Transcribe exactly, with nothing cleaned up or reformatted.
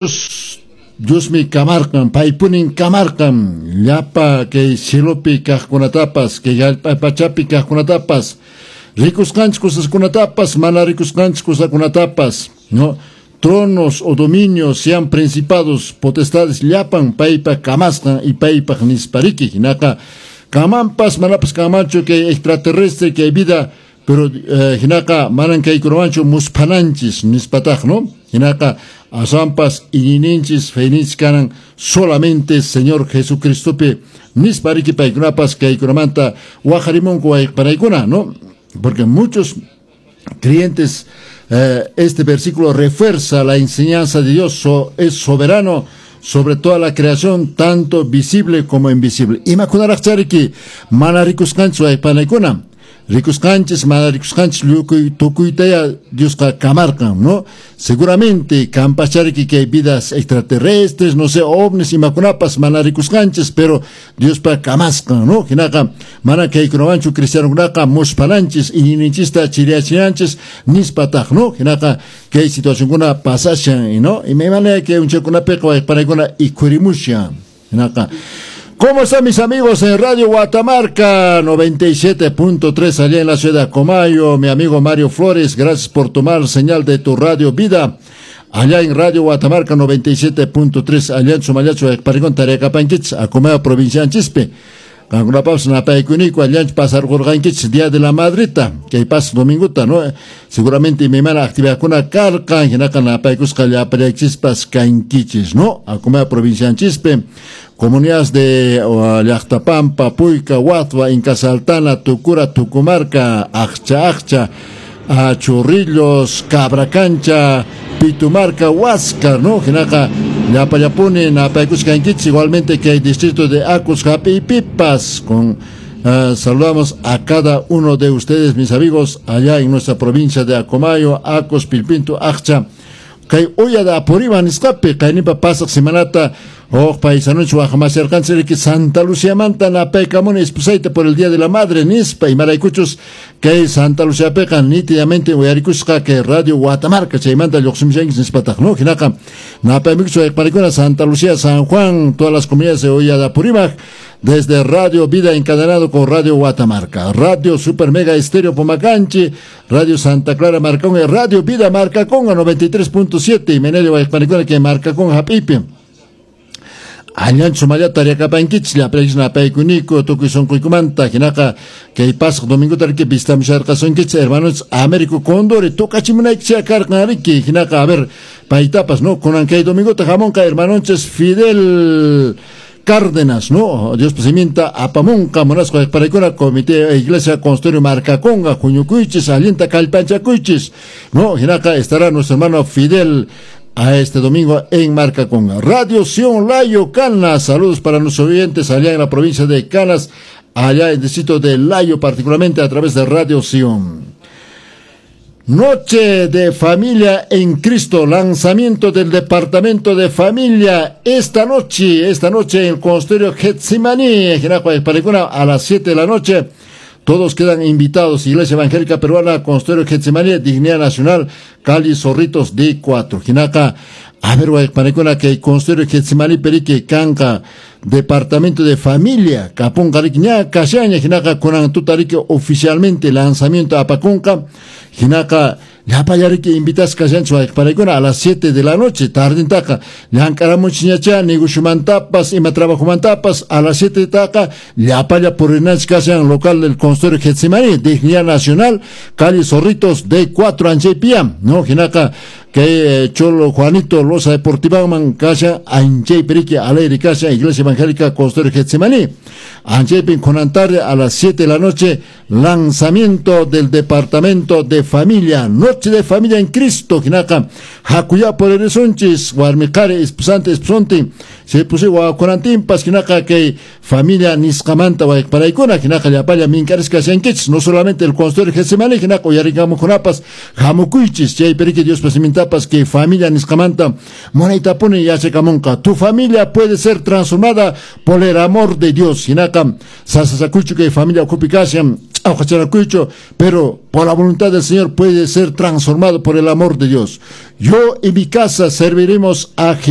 Diosmi kamarqan, paypunin kamarqan, llapa kay cielopi kaqkunatapas, kay hallp'a pachapi kaqkunatapas, rikusqanchik cosaskunatapas, mana rikusqanchik cosakunatapas, ¿no? Tronos o dominios, sean principados, potestades, llapan paypa kamasqan y paypaq nispariki, hinaqa kamanpas manapas kamanchu kay extraterrestre kay vida, pero eh, hinaqa manan kaykunawanchu musphananchis nispataq, ¿no? Hinaqa aswanpas iñiyninchis feyninchis kanan solamente Señor Jesucristopi nispariki paykunapas kaykunamanta waqarimunku wayqpanaykuna, ¿no? Porque muchos creyentes, eh, este versículo refuerza la enseñanza de Dios, so, es soberano sobre toda la creación, tanto visible como invisible. Imakunaraq chariki mana rikusqanchis wayqpanaykuna, rikusqanchis mana rikusqanchis llukuy tukuytaya Diosqa kamarqan, ¿no? Seguramente kanpas chariki que hay vidas extraterrestres, no sé, ovnis imakunapas mana rikusqanchis, pero Diospa kamasqan, ¿no? Hinaqa mana kaykunawanchu cristianokunaqa musphananchis iñiyninchista chiriyachinanchis nispataq, ¿no? Hinaqa kay situacionkuna pasashan, ¿no? Imaymana kay unchakunapiqa wayqpanaykuna ikhurimushan. Hinaqa ¿cómo están mis amigos en Radio Guatamarca noventa y siete punto tres allá en la ciudad de Acomayo? Mi amigo Mario Flores, gracias por tomar señal de tu Radio Vida. Allá en Radio Guatamarca noventa y siete punto tres, allá en Sumayacho, Parigón, Tarecapanquich, Acomayo, provincia de Chispe. Kankunapapas napaykuniku allanchu pasarqurqankichis Día de la Madrita, kay pas dominguta, ¿no? Seguramente imaymana actividadkuna karqan, hinaqa napaykusqa llapallaychispas kankichis, ¿no? Acomayo, provincia de Chispe, comunidades de uh, Llaqtapampa, Puyca, Huatva, Inca Saltana, Tucura, Tucumarca, Accha, Accha, uh, Chorrillos, Cabracancha, Pitumarca, Huáscar, ¿no? Hinaqa llapallapuni napaykusqankichis, igualmente que el distrito de Acos, Japi y Pipas, con, uh, saludamos a cada uno de ustedes, mis amigos, allá en nuestra provincia de Acomayo, Acos, Pilpinto, Accha, kay Uya de Apurímac nisqapi, kayninpa pasaq semanata huk paisanuch waqmasirqanchik Santa Luciamanta napaykamuni esposayta por el Día de la Madre nispa, imaraykuchus kay Santa Luciapiqa nítidamente uyarikusqa kay Radio Guatamarca chaymanta lluqsimushanchis nispataq, ¿no? Hinaqa napaymukuchus wayqparikuna Santa Lucía, San Juan, todas las comunidades de Uya de Apurímac, desde Radio Vida encadenado con Radio Guatamarca, Radio Super Mega Estéreo Pomacanchi, Radio Santa Clara Marcón y Radio Vida Marcaconga noventa y tres punto siete y Menelio Wayqparikuna que Marcaconga hapipi. Allanchu mallata riakapankichis llapallaychis napaykuniku tukuy sunquykumanta, hinaqa kay pasaq dominguta riki vistamusharqasunkichis hermanos Américo Condori tukachimunaykichis karqan riki, hinaqa a ver paytapas, ¿no? Kunan kay dominguta hamunqa hermanonchis Fidel Cárdenas, ¿no? Dios pasimienta apamunqa munasqa wayqparaykuna Comité Iglesia Constorio Marcaconga huñukuychis allinta kallpanchakuychis, ¿no? Hinaqa estará nuestro hermano Fidel a este domingo en Marcaconga. Radio Sion Layo Canas, saludos para nuestros oyentes allá en la provincia de Canas, allá en el distrito de Layo, particularmente a través de Radio Sion. Noche de Familia en Cristo, lanzamiento del Departamento de Familia esta noche, esta noche en el Consistorio Getsemaní, a las siete de la noche. Todos quedan invitados. Iglesia Evangélica Peruana, Consistorio Getsemaní, Dignidad Nacional, Cali Zorritos D cuatro. Hinaqa, a ver, wayqpanakuna, kay Consistorio Getsemaní perique kanqa Departamento de Familia, kapunqa riki ña kashaña, hinaqa kunan tuta riki oficialmente lanzamiento apakunqa, hinaqa llapallariki invitasqa kashanchis wayqpanaykuna a las siete de la noche, tardintaqa llank'aramuchñacha negociomantapas ima trabajomantapas a las siete taqa llapalla purinanchis kashan local del Consistorio Getsemaní, Dignidad Nacional, calle Zorritos D cuatro Anchaypia, ¿no? Hinaqa kay Cholo Juanito Loza Deportivaman kashan Anchay Perique Alegre kashan Iglesia Evangélica Consistorio Getsemaní. Anchaypin kunan tarde a las siete de la noche, lanzamiento del Departamento de Familia, Noche de Familia en Cristo, hinaqa hakuya poreresunchis warmiqari esposante esposontin se pusi wakunantinpas hinaqa kay familia nisqamanta wayqparaykuna hinaqa llapalla minkarisqa kashankichis, no solamente el Consistorio Getsemaní, hinaqa uyariqamukunapas hamukuychis chay perique Dios pasimintapas que familia nisqamanta munaytapuni yachakamunqa. Tu familia puede ser transformada por el amor de Dios, hinaqa sasasakuychu kay familia ukhupi kashan Ch'awqachanakuychu, pero por la voluntad del Señor puede ser transformado por el amor de Dios. Yo y mi casa serviremos a Jehová.